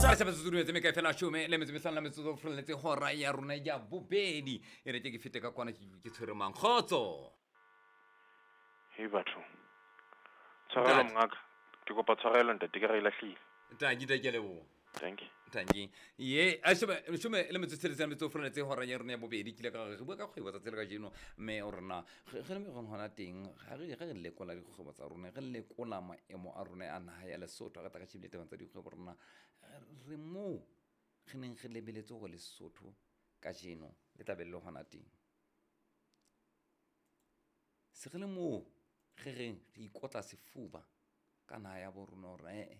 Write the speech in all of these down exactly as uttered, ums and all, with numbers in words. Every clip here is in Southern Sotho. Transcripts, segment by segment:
Re se me kae fela shome le metso mehlano la metsotso ho frolletse hora ya rona ya bobedi. E re ke ke fete ka kwana ke ke tshwere mang. Kgotso. Hei batho. Tshwarelo Ntate. Mongaka. Ke kopa tshwarelo ntate ke re e lahlile. Tanki tanki, ke a leboha. Thank you. Tanki. Ye, a shome shome le metso tsheletseng la metso ho frolletse hora ya rona ya bobedi. Ke ile ka re re bua ka kgwebo tsatsi le kajeno, mme o rona ge ge le me hona teng ga re ge re lekola dikgwebo tsa rona, re lekola maemo a rona a naha ya Lesotho, re tla ka shebile tabeng tsa dikgwebo rona re moo re neng re lebeletse hore Lesotho kajeno le tla be le hona teng. Se re le moo re reng re ikotla sefuba ka naha ya bo rona hore eh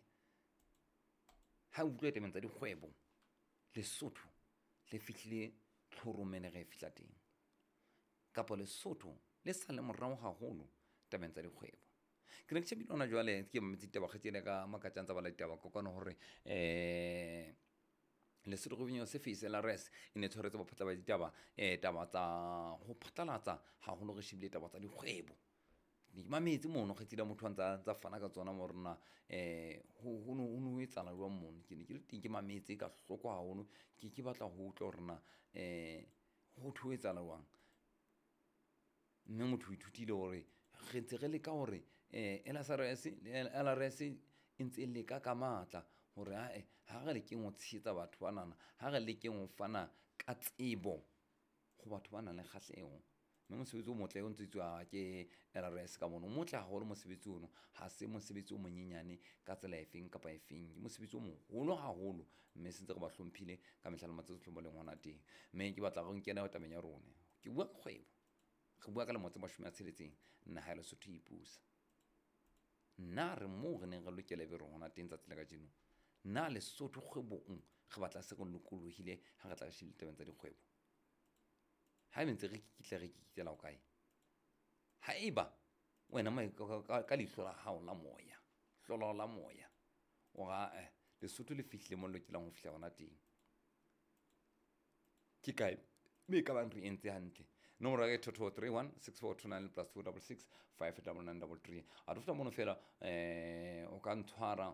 ha o utlwa tabeng tsa dikgwebo Lesotho le fihlile tlhorong mene re e fihla teng, kapa Lesotho le sa le morao haholo tabeng tsa dikgwebo. Ke ne ke shebile hona jwale ke mametse ditaba kgaitsedi ka Makatjang tsa bala ditaba kokwana hore eh Lesotho Revenue Service L R S e ne tshwaretse baphatla ba ditaba eh taba tsa ho phatlalatsa haholo re shebile taba tsa dikgwebo. Ke mametse mono kgaitsedi ya motho a ntsa ntsa fana ka tsona mo rona eh ho ho no ho no etsahala jwang mono. Ke ne ke le teng ke mametse ka hloko haholo, ke ke batla ho utlwa hore na eh ho thwe ho etsahala jwang. Mme motho o ithutile hore re ntse re leka hore eh L S R S L R S e ntse e leka ka matla hore ae ha re lekeng ho tshehetsa batho banana, ha re lekeng ho fana ka tsebo ho batho ba nang le kgahleho. Mme mosebetsi o motle o ntse etswa ke L R S ka mono, o motle haholo mosebetsi ono, ha se mosebetsi o monyenyane ka tsela efeng kapa efeng, ke mosebetsi o moholo haholo, mme se ntse re ba hlomphile ka mehla le matsatsi ohle mo leng hona teng. Mme ke batla re nkene tabeng ya rona, ke bua ka kgwebo, re bua ka lemo tse mashome a tsheletseng naha ya Lesotho e ipusa. Nna re moo re neng re lokela ebe re hona teng tsatsi la kajeno. Na Lesotho kgwebong re batla se re lokolohile ha re tla re shebile tabeng tsa dikgwebo? Ha ebe ntse re kikitla re kikitlela ho kae? Haeba wena ka, ka leihlo la hao la moya, hlolo la moya, o ra eh Lesotho le fihlile mo le lokelang ho fihla hona teng. Ke kae mme e ka bang re entse hantle? Nomoro ya ka ke two two three one six four two nine plus two double six five double nine double three. A re fihla mono fela eh o ka ntshwara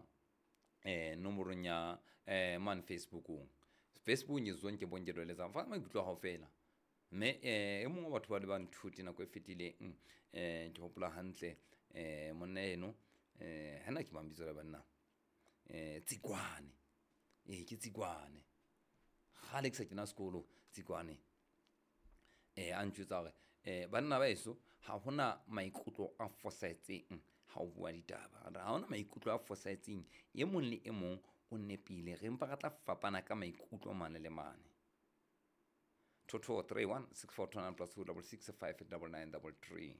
eh nomorong ya eh mane Facebookong. Facebookong ke Zonke Bonke Dweletsang. Fa maikutlo a hao fela. Mme eh e mong wa batho ba le ba nthuti nako e fetileng eh ke hopola hantle eh monna eno eh hana ke mang bitso la banna eh Tsikwane. Eh ke Tsikwane. Kgale ke sa kena sekolo Tsikwane. Eh a ntjwetsa hore eh banna ba heso ha hona maikutlo a fosahetseng ha o bua ditaba. Ha hona maikutlo a fosahetseng, e mong le e mong o nepile, re mpa re tla fapana ka maikutlo mane le mane. Two two three one six four two nine plus two double six five double nine double three.